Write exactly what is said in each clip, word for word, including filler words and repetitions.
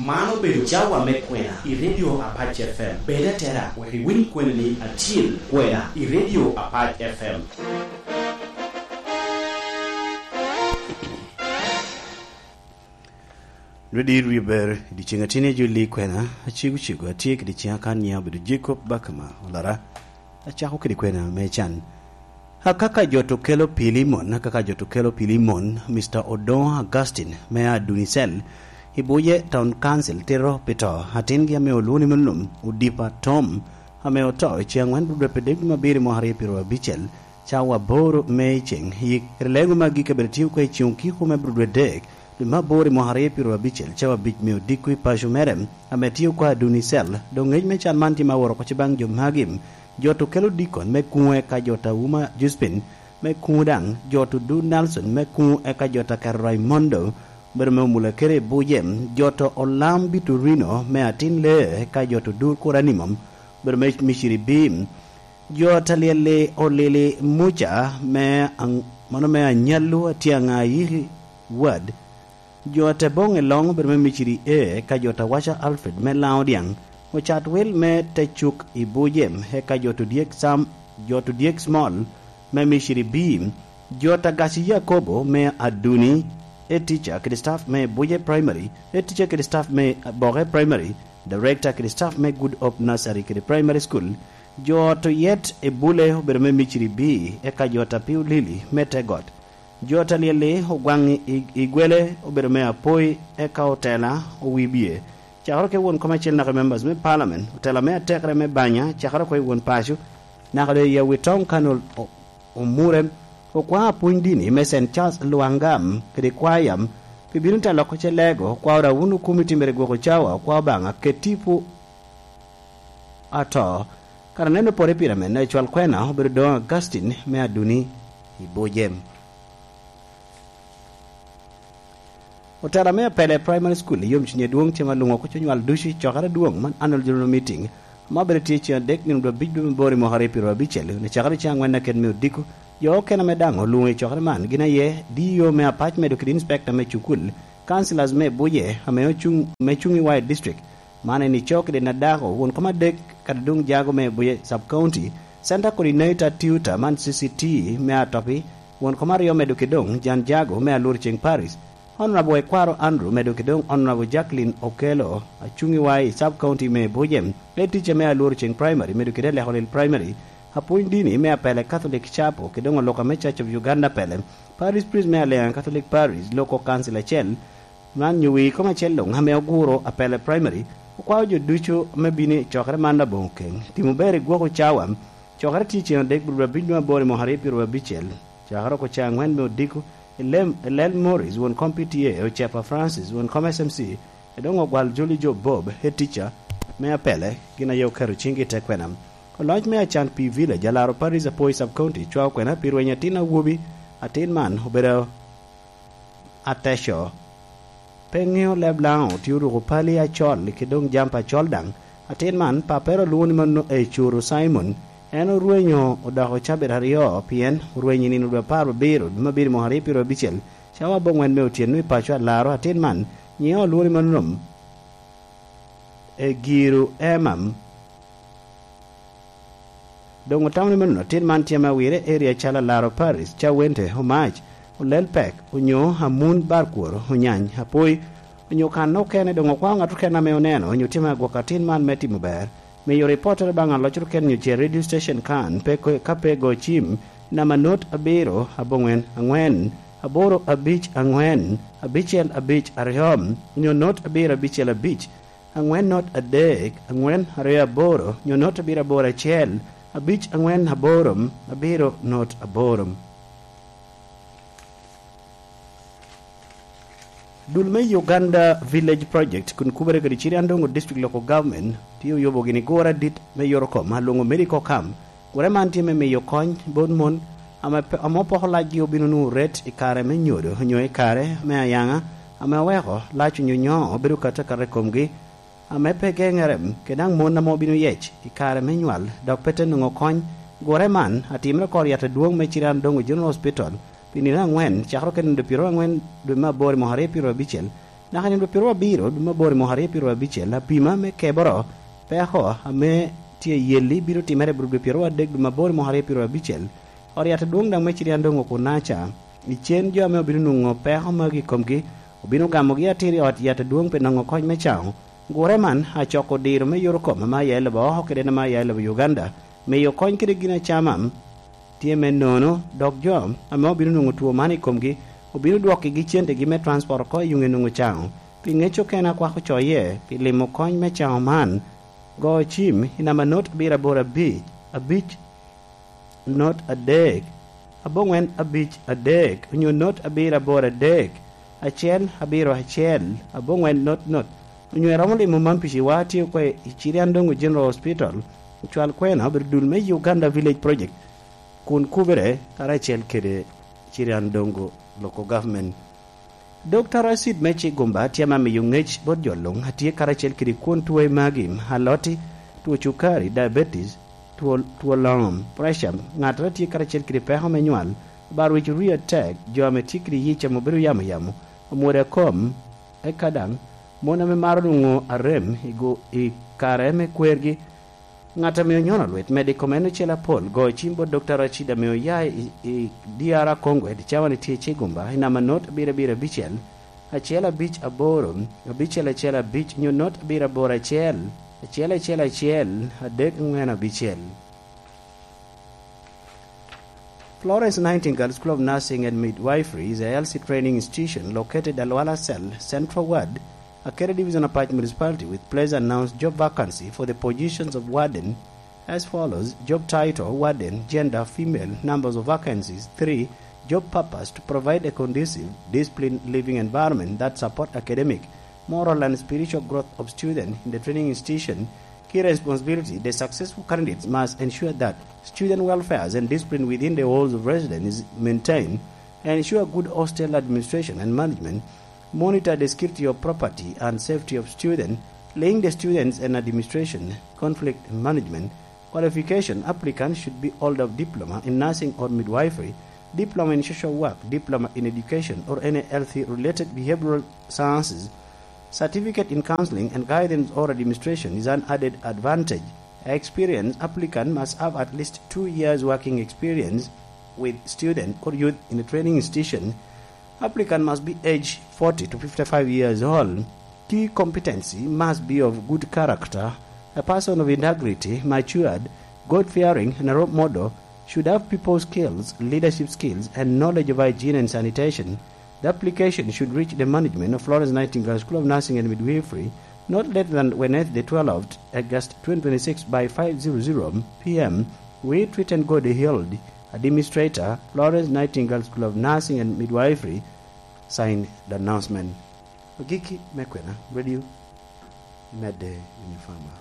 Man obedo cawa me kwena i Radio Apac F M. Bed atera, wek iwiny kweni ni acil kwena i Radio Apac F M. Nwe dir wie ber, i dyeceŋ ateni a jolli kwena, acego cego, atye kede ciŋa kan nyiŋa obedo Jacob Bakama Olara. Acako kede kwena me can. Akaka jo to kelo Pilimon, akaka jo to kelo Pilimon, Mister Odongo Augustine me Adunicel, i Buje Town Council tito pi to atingi ame olwoŋo ni Mulum Odipa Tom, ame oto i ceŋ angwen dwe dwe dek dwe me abiro i mwaka aryo pyeraryo abicel, cawa aboro me i ceŋ yik. Kede leŋo magi kabedo tye oko i ceŋ okiko me dwe dwe dek dwe me aboro i mwaka aryo pyeraryo abicel, cawa abic me odiko i paco mere, ame tye oko Adunicel. Doŋ ngec me can man tye ma woro oko baŋ jo magi. Jo to kelo dikon me kuŋo eka jo ta Uma Juspin me kuŋo daŋ, jo to du Nelson me kuŋo eka jo ta Kero Raimondo, obedo me omula kede i Buje, jo to Olam Bitorino me atin lee eka jo to du Kuranimom, obedo me Miciri Bim, jo ta Lyelli Olili Muca me Ang-, mano me Anyallu Atyaŋ Ayiki Wad, jo ta Boŋ i Loŋ obedo me Miciri E, eka jo ta Waca Alfred me Laŋo Dyaŋ, Ocat Wil me Tecuk i Buje, eka jo to Dyek Sam, jo to Dyek Small me Miciri B, jo ta Gaci Yakobo me Aduni, e teacher kede staff me Buje Primary, e teacher kede staff me Boke Primary, director kede staff me Good Hope Nursery kede Primary School, jo to Yet e Bule obedo me Miciri B, eka jo ta Piu Lili me Tegot. Jo ta Lyelli Ogwaŋ i, i Gwele obedo me Apoi, eka otela Owibye. Cakere oko i won kom acel naka i members me parliament, otela me atekere me banya, cakere oko i won paco, naka doŋ i Awitoŋ kan ol-, o-, omure, okwa apwony dini me Saint Charles Lwangam kede kwaya, pi bino te loko ce lego, okwa Orawun Okumi Timbere Gwoko Cawa, okwa Obaŋa, ket tipo ato. Kara neno pore pire men, ecwal kwena obedo doŋ Augustine me Aduni i Buje. Otela me Apele Primary School i yomcuny adwoŋ cem alwoŋo oko conywal ducu i cokere adwoŋ man Annual General Meeting, ame obedo tye ceŋ adek nino dwe abic dwe me aboro i mwaka aryo pyeraryo abicel, ni cakere ceŋ angwen aket me odiko. Jo okene ame daŋ olwoŋo i cokere man gin aye D E O me Apac medo kede inspector me cukul, councillors me Buje ame ocuŋ, me cuŋ i Wai District, man en ico kede Nadako, won kom adek, kadi doŋ Jago me Buye Sub County, Center Coordinator Tutor man C C T me Atopi, won kom aryo medo ki doŋ Jan Jago me Alwor Ceng Parish, Honorable Ekwaro Andrew medo ki doŋ Honorable Jacqueline Okello, acuŋ i Wai Sub County me Buye, e teacher me Alwor Ceng Primary medo kede Aleko Lil Primary, apwony dini me Apele Catholic Chapel, ki doŋ oluka me Church of Uganda Apele, Parish Priest me Aliaŋa Catholic Parish, Local Council acel, man nyo wi kom acel luŋ ame oguro Apele Primary, okwao jo ducu me bino i cokere man aboŋo keŋ. Timo ber i gwoko cawa. Cokere tye ceŋ adek, bur abiny nwa aboro i mwaka aryo pyeraryo abicel. Cakere oko ceŋ angwen me odiko, i lem, i Lel Morris, won kom P T A, Ocepa Francis, won kom S M C, e doŋ ogwal Joli Jo Bob, head teacher me Apele, gin aye oketo ciŋgi i te kwena. Oloc me Acan P Village, alaro Paris Apoi Sub County, cwao kwena pi rweny atin awobi, atin man obedo ateco. Pe ŋeo leb Laŋo, tye oruko pali acol, ki doŋ jampa acol daŋ. Atin man, pappere olwoŋo ni mano Ecuru Simon. En orwenyo odoko cabit aryo, pien orwenyo i nino dwe apar abiro, dwe me abiro mwaka aryo pyeraryo abicel, cawa abongwen me otyeno i paco alaro. Atin man, nyiŋe olwoŋo ni mano Egiro Emam. Doŋ otamo ni mano, atin man tye ame awire area calo Alaro Paris, Cawente, Omac, Olel Pek, onyo Amun Barkworo, Onyany, Apoi, onyo kan okene. Doŋ okwao ŋat okene ame oneno, onyo tye ame agwoko atin man me timo ber, miyo ripottere baŋ aloc okene onyo ce radio station kan, pe ko-, ka pe go cim, namba not abiro, abongwen, angwen, aboro abic angwen, abicel abic aryo, onyo not abiro abicel abic, angwen not adek, angwen aryo aboro, nyo not abiro aboro acel, abic angwen aboro, abiro not aboro. Dul me Uganda Village Project kun kubere kede Chiriandongo District Local Government tye oyubo gini gure adit me yot okom alwoŋo Medical Camp. Gure man tye me miyo kony bot mon ame pe-, ame opoko lacgi obino nwoŋo ret i kare me nyodo onyo i kare me ayaŋa, ame oweko lac onyo nyo obedo katakata i komgi, ame pe geŋere, kede daŋ mon ame obino yec i kare me nywal, dok pe te nwoŋo kony. Gure man atimere oko ryat adwoŋ me Chiriandongo General Hospital pi nino angwen, cakere okene nino pyeraryo angwen dwe me aboro i mwaka aryo pyeraryo abicel, Naka nino dwe pyeraryo abiro, dwe me aboro i mwaka aryo pyeraryo abicel, apima me keboro peko ame tye i yelli bino timere i bur dwe pyeraryo adek, dwe me aboro i mwaka aryo pyeraryo abicel. Ot yat adwoŋ daŋ me Cirian doŋ okunaca. I cen jo ame obino nwoŋo peko magi i komgi, obino gamogi atir i ot yat adwoŋ pi noŋo kony me caŋo. Gure man acoko diro me yot okom ame aye lobo oko kede en ame aye lobo Uganda, miyo kony kede gin acama tye me nono, dok jo ame obino nwoŋo two man i komgi obino dwokkigi centegi me transport oko i yuŋe nwoŋo caŋo. Pi ŋec okene akwako coye pi limo kony me caŋo man, go cim i namba not abiro aboro abic, abic not adek, aboŋwen abic adek, onyo not abiro aboro adek, acel abiro acel, aboŋwen not not, onyo iromo limo man pi ciwa tye oko i Cirian Dongo General Hospital, ocwal kwena obedo dul me Uganda Village Project, kun kubere karacel kede Cirian Dongo Local Government. Doctor Rashid me Cigumba tye ame miyo ŋec bot jo luŋ a tye karacel kede kwon twe magi, aloti, two cukari, diabetes, two, two loŋom, pressure, ŋat a tye karacel kede peko me nywal, ba rwic rii atek, jo ame tye kede yic ame obedo yamo yamo, omwodo akom, eka daŋ mon ame maro nwoŋo arem i go-, i kare me kwergi, ŋat ame onyono lwit medo i kom en ocel apol, go cim bot Doctor Rashid ame oya i, i D R Congo, i cawa ni tye i Cigumba, i namba not abiro abiro abicel, acel abic aboro, abicel acel abic, nyo not abiro aboro acel, acel acel acel, adek angwen abicel. Florence Nightingale School of Nursing and Midwifery is a L C training institution located at Luala Cell, Central Ward, Akere Division, Apac Municipality, with please announce job vacancy for the positions of warden as follows. Job title, warden, gender, female, numbers of vacancies, three, job purpose, to provide a conducive, disciplined living environment that support academic, moral and spiritual growth of student in the training institution. Key responsibility, the successful candidates must ensure that student welfare and discipline within the walls of residence is maintained, ensure good hostel administration and management, monitor the security of property and safety of students, link the students and administration, conflict management. Qualification, applicant should be holder of diploma in nursing or midwifery, diploma in social work, diploma in education or any healthy related behavioral sciences. Certificate in counseling and guidance or administration is an added advantage. Experience, applicant must have at least two years working experience with student or youth in a training institution. Applicant must be age forty to fifty-five years old. Key competency must be of good character, a person of integrity, matured, God-fearing, and a role model, should have people skills, leadership skills, and knowledge of hygiene and sanitation. The application should reach the management of Florence Nightingale School of Nursing and Midwifery not later than Wednesday, twelfth August twenty twenty-six, by five zero zero P M with written code held. Administrator, Florence Nightingale School of Nursing and Midwifery, signed the announcement. Agikki me kwena, radio, medde i nifama.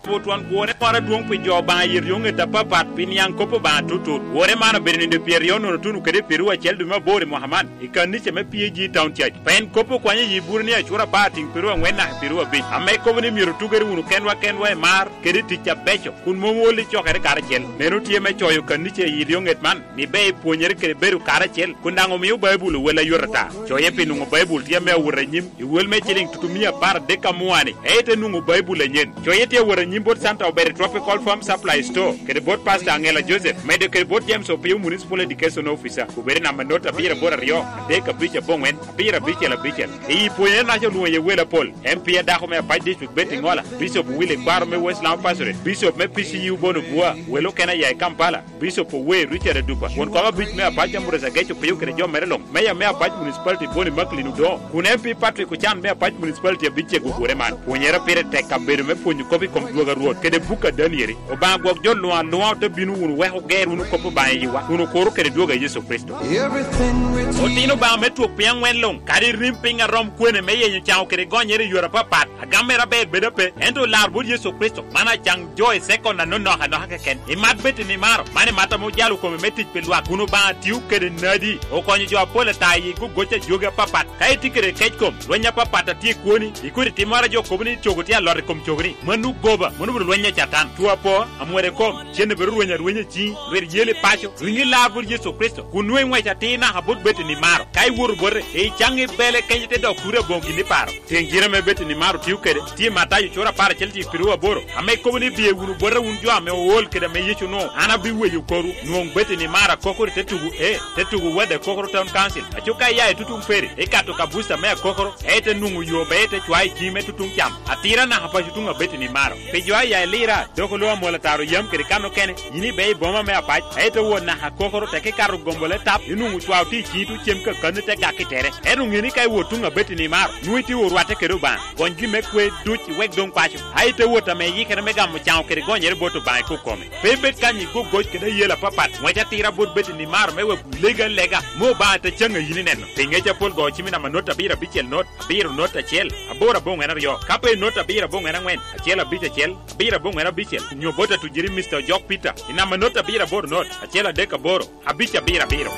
Twon gwone moro adwoŋ pi jo Obaŋa i ryoŋet apapat pi niaŋ kop Obaŋa tutut. Gwone man obedo nino pyeraryo nono tuno kede pyeraryo acel dwe me aboro i mwaka man, i kanica me P A G Town Church. Pien kop okwanyo i yi bur ni acura apar tiŋ pyeraryo aŋwen naka pyeraryo abic, ame kobo ni myero otugere wunu kenwa kenwa i mar kede i tic abeco, kun mom ool i cokere karacel. Meno tye me coyo kanica i ryoŋet man, ni ber ipwonyere kede bedo karacel, kun daŋ omio Baibul owel ayot ata. Coye pi nwoŋo Baibul tye ame awot anyim, i wel me ciliŋ tutumia apar adek amua-ni, en ite nwoŋo Baibul anyen. Coye tye awot anyim bot Santa Obere Tropical Farm Supply Store, kede bot Pastor Angela Joseph, medo kede bot James Opio Municipal Education Officer, obedo i namba not abiro aboro aryo, adek abic aboŋwen, abiro abicel abicel. I pwonyere naca olwoŋo iye wel apol, M P a dako me Apac District Betty Ngola, Bishop Willy Kwaro me West Lamu Pastorate, Bishop me P C U Bono Bua, wel okene aya i Kampala, Bishop Owe Richard Adupa, won kom abic me Apac Ambrose Ageco Piyo kede jo mere luŋ, Meya me Apac Municipality Boni Macklin Odongo, kun M P Patrick Ocan me Apac Municipality abicego ogure man. Pwonyere pire tek kabedo me pwonyo kop i kom dwogo a Rwot kede buk a Danieli. Obaŋa gwok jo luŋ aluŋa ote bino wunu wek oger wunu kop Obaŋa i yiwa, kun okuro kede dwogo a Yecu Kricito. Otino Obaŋa me twok piny aŋwen luŋ, kadi rim piny a rom kwene me yenyo caŋo kede gonyere i yore apapat, agam mere aber bedo ape, ento olar bot Yecu Kricito, man acaŋ jo i sekon anonok anoka keken. Imat bed i nimaro, man imat ame ojalo kome me tic pi lwak, kun Obaŋa tio kede nadi, okonyo jo apol ata i gogoc a jogi apapat. Ka itye kede kec kom, lweny apapat a tye i kwoni, ikodi timmoro a jo kobo ni cogo tye alot i kom cogoni, mano goba. Mono bino lweny a Catan. Cwo apo, amwere kom, cen bedo rweny arwenya i ciŋi, lwit yel i paco, riŋi lar bot Yecu Kricito, kun nwoŋo iŋwec atir naka bot Betani Maro. Ka iwoto bote, icaŋ i bele kenyo te dok turi aboŋo gin iparo. Teŋ gire ame Betani Maro tio kede, tye i Matayo cura apar acel cik pirwu aboro, ame kobo ni, "Biye wunu bota wun jo ame ool kede ame Yecu onwoŋo, an abiweyo korwu." Nwoŋo Betani Maro akokoro i te tugo, ee, te tugo Wade Akokoro Town Council. Aco ka iya i tutuŋ Peri, ikato ka buca me Akokoro, ite nwoŋo yo, be ite cwayo i ciŋi me tutuŋ cam. Atira naka paco tuŋ Abeti ni Maro. Pi jo a ya i Lira, dok oloo amwol ataro yam kede kan okene, yin ibe i boma me Apac, ite wot naka Akokoro, teke ikato gombo le tap, inwoŋo cwao tye i ciŋi tuŋ cem kakanni te gak i tere. Ento ŋe ni ka iwot tuŋ Abeti ni Maro, nwoŋo itye orwatte kede Obaŋa. Gony gin me kwe duc iwek doŋ paco. A ite wot ame iyikere me gamo caŋo kede gonyere bot Obaŋa i kok kome. Pe ibed kany i gogoc kede ayela apapat, ŋwec atira bot Betani Maro me wek legi alega, me Obaŋa te caŋ a yin ineno. Pi ŋec apol go cim i namba not abiro abicel not, abiro not acel, aboro aboŋwen aryo. Ka pe not abiro aboŋwen aŋwen, acel abic acel, abiro aboŋwen abicel, nyo bot atujiri Mister Ojok Peter, i namba not abiro aboro not, acel adek aboro, abic abiro abiro.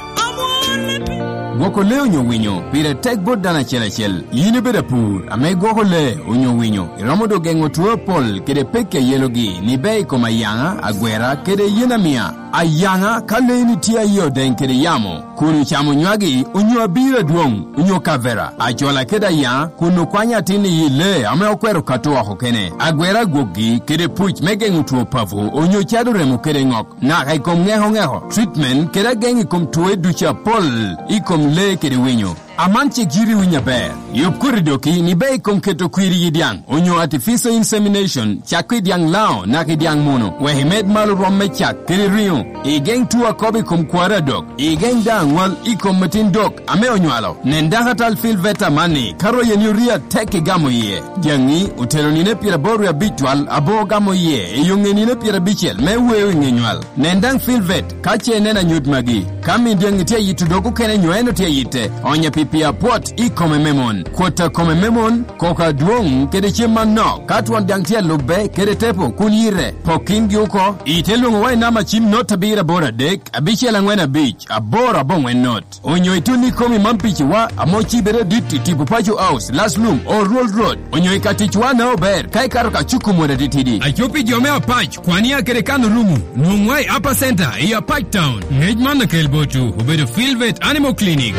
Gwoko lee onyo winyo pire tek bot dano acel acel. Yin ibedo apur ame igwoko lee onyo winyo, iromo doŋ geŋo two apol kede pekki a yelogi ni bea i kom ayaŋa, agwera, kede yen amia. Ayaŋa, ka leeni tye aye odeŋ kede yamo, kun ocamo nywagi, onyo abiro adwoŋ, onyo kavera, ajola kede ayaŋa, kun okwanyo atin i yi lee ame okwero kato oko kene, agwera agwokgi, kede puc me geŋo two papo, onyo cado remo kede ŋok, naka i kom ŋeko ŋeko, treatment, kede ageŋ i kom twoe ducu apol i kom lee kede winyo. Aman cik yiti winyo aber. Yub koti doki ni bea i kom keto kwir i yi dyaŋ, onyo artificial insemination, cakko i dyaŋ laŋo naka i dyaŋ muno, wek imed malo rwom me cak kede riŋo, igeŋ two akobo i kom kwari adok, igeŋ daŋ aŋwal i kom metin dok ame onywalo. Nen dakatal Phil Veta amanni, ka royeni orii atek igamo iye. Dyaŋi otero nino pyeraboro wie abic twal, abo ogamo iye i yo ŋe nino pyerabicel me weo i ŋe nywal. Nen daŋ Phil Vet ka ce ineno anyut magi. Ka min dyaŋi tye ayito dog okene nyo en otye ayitte, onye pi pii apwot i kome me mon. Kwot a kome me mon, koko adwoŋ kede cem manok, ka twon daŋ tye alubbe kede tepo kun yite, pok kingi oko. Ite lwoŋowa i namba cim not abiro aboro adek, abicel aŋwen abic, aboro aboŋwen not. Onyo itun ikomi man piciwa, ame ocibere dit i tipo Paco House, Last Lum, Oruol Road. Onyo i ka ticwa na ober, ka ikato ka cuku mwodo atitidi. Aco pi jo me Apac, kwania kede kan orumo, nwoŋwa i Upper Center, i Apac Town. Ngec man akel botwu, obedo Phil Vet Animal Clinic.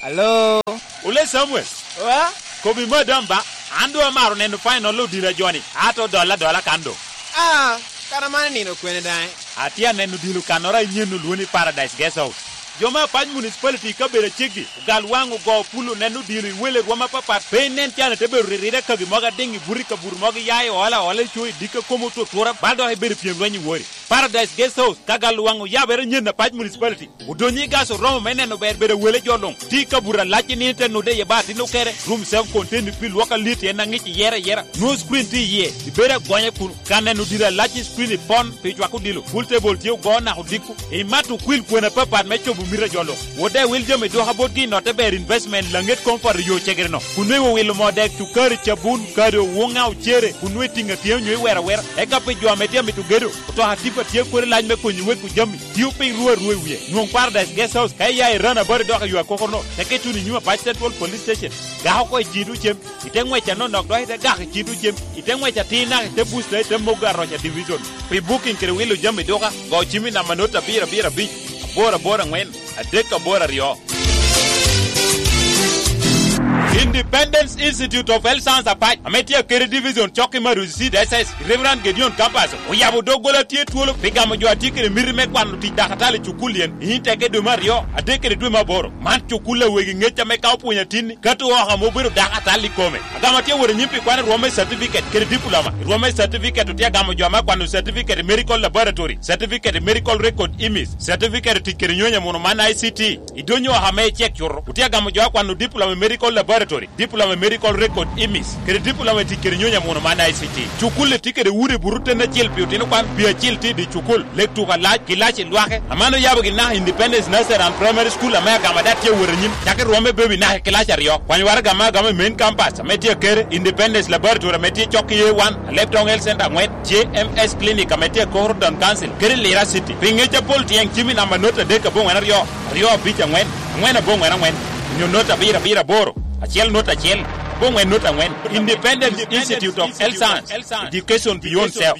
Alo? Ole Samuel. Wa? Kobi madam ba, an doŋ amaro neno final odila joni, ato dola dola kan doŋ. Ah, kara man nino kwene daŋ? Atye aneno odilo kannoro a inyen olwoni Paradise Guest House. Jo me Apac Municipality i kabedo aceggi, ogal waŋ ogo pulo neno odilo i wele rwom apapat, pe inen can ite bedo riride kagi mogo adiŋ i buto i kabuto mogo iya i ola ola i co i dikka komo otutura, bal dok ibedo pyem lweny i wori. Paradise Guest House, ka gal waŋ oyabere nyen Apac Municipality. Odonyo i gas oromo me neno ber bedo awele jo luŋ. Tye i kabuto alac i nino te nude iye ba atin okere. Room self contained pi lwok alit en aŋic iyere ayera. Nwoŋo screen tye iye. Ibedo agonya kun ka neno diro alac i screen i pon pi cwako odilo. Pool table tye ogo naka odiko. Imato okwil kwena apapat me cobo mito a jo luŋ. Wode wil jami duka botgi i notte ber investment laŋet koŋ poto yo cegere-no. Kun nwoŋo iwilo moo dek, cukari, cabun, kado, woŋa, ocere, kun nwoŋo itiŋo atiŋa onyo iwero awera. Eka pi jo ame tye amito gedo, otoka tipa tye kodi lac me konyo wego jami. Tio piny ruu arua i wie. Nwoŋ Paradise Guest House ka iya i Rana Bari dok i yo akokoro-no, teke ituno i nyim Apac Central Police Station. Gak oko i cito cem, ite ŋwec anonok dok ite gak i cito cem, ite ŋwec atir naka ite busta ite mogo aroca division. Pi booking kede wilo jami duka, go cim i namba not abiro abiro abic, aboro aboro aŋwen, adek aboro aryo. Independence Institute of Health Science Apac, ame tye akede division cok i Maruzi Seed S S, Reverend Gedeon Campus, oyabo doggola tye twolo pi gamo jo a tye kede miti me kwano tic dakatali i cukul yen, i teke dwe me aryo, adek kede dwe me aboro. Man cukul a wegi ŋec ame ka opwonyo atinni, kato oko ame obedo dakatali i kome. Agamo atye wot anyim pi kwano rwom me certificate kede diploma. I rwom me certificate otye agamo jo ame akwano certificate i medical laboratory, certificate i medical record image, certificate i tic kede nyonyo amuno man I C T. Idonyo oko ame icek cuto, otye agamo jo akwano diploma i medical laboratory, diploma i medical record image, kede diploma i tic kede nyonyo amuno man I C T. Cukul-li tye kede udi buto ten acel pi otino kwan, pi acil tye i dye cukul, lek tuko alac, kilaci lwake. Aman oyabo gin naka Independence Nursery and Primary School ame agamo ada tye awot anyim, cako i rwom me baby naka i kilaci aryo. Kwany waraga ame agamo i main campus ame tye akere, Independence Laboratory ame tye cok i A one, Alebtong Health Center aŋwen, J M S Clinic ame tye akoro Town Council, kede Lira City. Pi ŋec apol tyeŋ cim i namba not adek aboŋwen aryo, aryo abic aŋwen, aŋwen aboŋwen aŋwen, onyo not abiro abiro aboro, acel not acel, Bongwen not angwen, Independent Institute of Health Science, Education Beyond Self.